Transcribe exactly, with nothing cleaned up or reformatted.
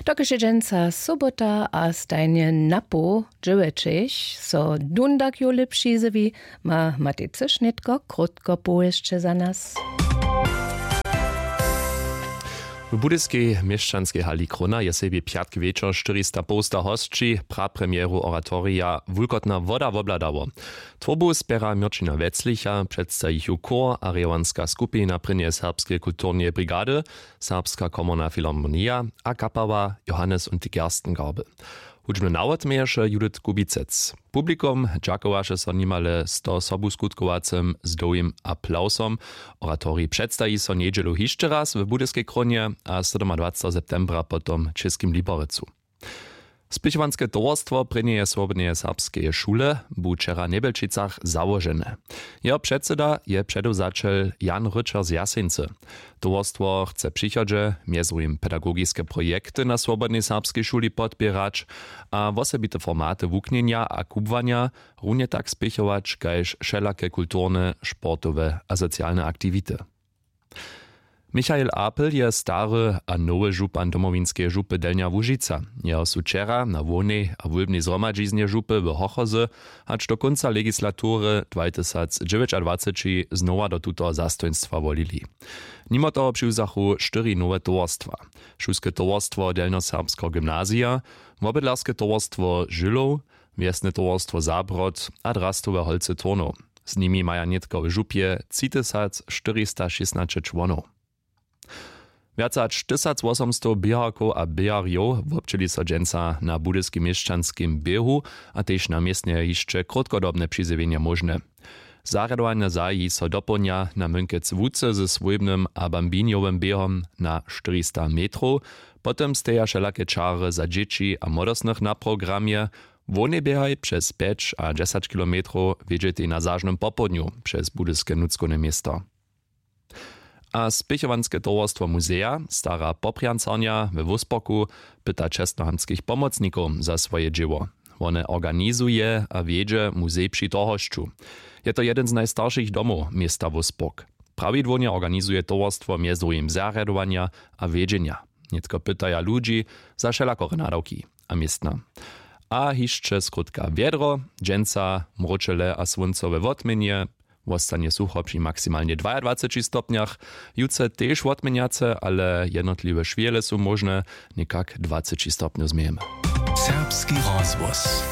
Dokelž je dźensa sobota a stajnje napoł dźewjećich so dundak jowle přizjewi, ma matej cyš nětko krótko powěsće za nas. W budyskej měšćanskej hali Krona je sebi pjatk wječor štyrista połsta hosći prapremjeru oratorija Wulkotna woda wobhladało. Twórbu spjera Měrćina Weclicha, předstaji ju chór a rěwanska skupina prěnjeje serbskeje kulturneje brigady, Serbska komorna filharmonija a kapała Johannes und die Gerstengarbe. Hudźbny nawod měješe Judith Kubicec. Publikum dźakowaše so nimale sto sobuskutkowaceho z dołhim aplawsom. Oratorij předstaji so njedźelu hišće raz w Budyskej Krónje a sydomadwaceteho septembra potom w Českim Liberecu. Spěchowanske towarstwo prěnjeje swobodneje serbskeje šule bu wčera w Njebjelčicach załožene. Jeho předsyda je předewzaćel Jan Ryćer z Jaseńcy. Towarstwo chce w přichodźe mjez druhim pedagogiske projekty na swobodnej serbskej šuli podpěrać a wosebite formaty wuknjenja a kubłanja runje tak spěchować kaž wšelake kulturne, sportowe a socialne aktiwity. Michael Apel je stary a nowy župan Domowinskeje župy Delnja Łužica. Jeho su wčera na hłownej a wólbnej zhromadźiznje župy w Hochozy hač do kónca legislatury dwatysacdźewjećadwaceći znowa do tutoho zastojnstwa wolili. Nimo toho přiwzachu štyri nowe towarstwa: Šulske towarstwo Delnjoserbskeho gymnazija, Wobydlerske towarstwo Žylow, Wjesne towarstwo Zabrod a Drastowe holcy Turnow. Z nimi maja nětko w župje třitysac štyristašěsnaće čłonow. Wjace hač tysacwosomstow běharkow a běharjow wobdźěli so dźensa na budyskim měšćanskim běhu a tež na městnje hišće krótkodobne přizjewjenje móžne. Zarjadowanja zahaji so dopołdnja na mynkec łuce ze swójbnym a bambinjowym běhom na štyrista metrow. Potom steja wšelake čary za dźěći a młodostnych na programje. Hłownej běhaj přez pjeć a dźesać kilometrow wjedźetej na zažnym popołdnju přez budyske nutřkowne město. A spěchowanske towarstwo muzeja Stara Poprjancarnja we Wósporku pyta čestnohamtskich pomocnikow za swoje dźěło. Wone organizuje a wjedźe muzej při Torhosću. Je to jedyn z najstaršich domow města Wóspork. Prawidłownje organizuje towarstwo mjez druhim zarjadowanja a wjedźenja. Nětko pytaja ludźi za wšelakore nadawki a městna. A hišće skrótka wjedro. Dźensa mróčele a słóncowe wotměnje. Wostanje sucho při maksimalnje dwajadwaceći stopnjach. Jutře tež wotměnjace, ale jednotliwe šwěle su móžne. Někak dwaceći stopnjow změjemy. Serbski rozhłos.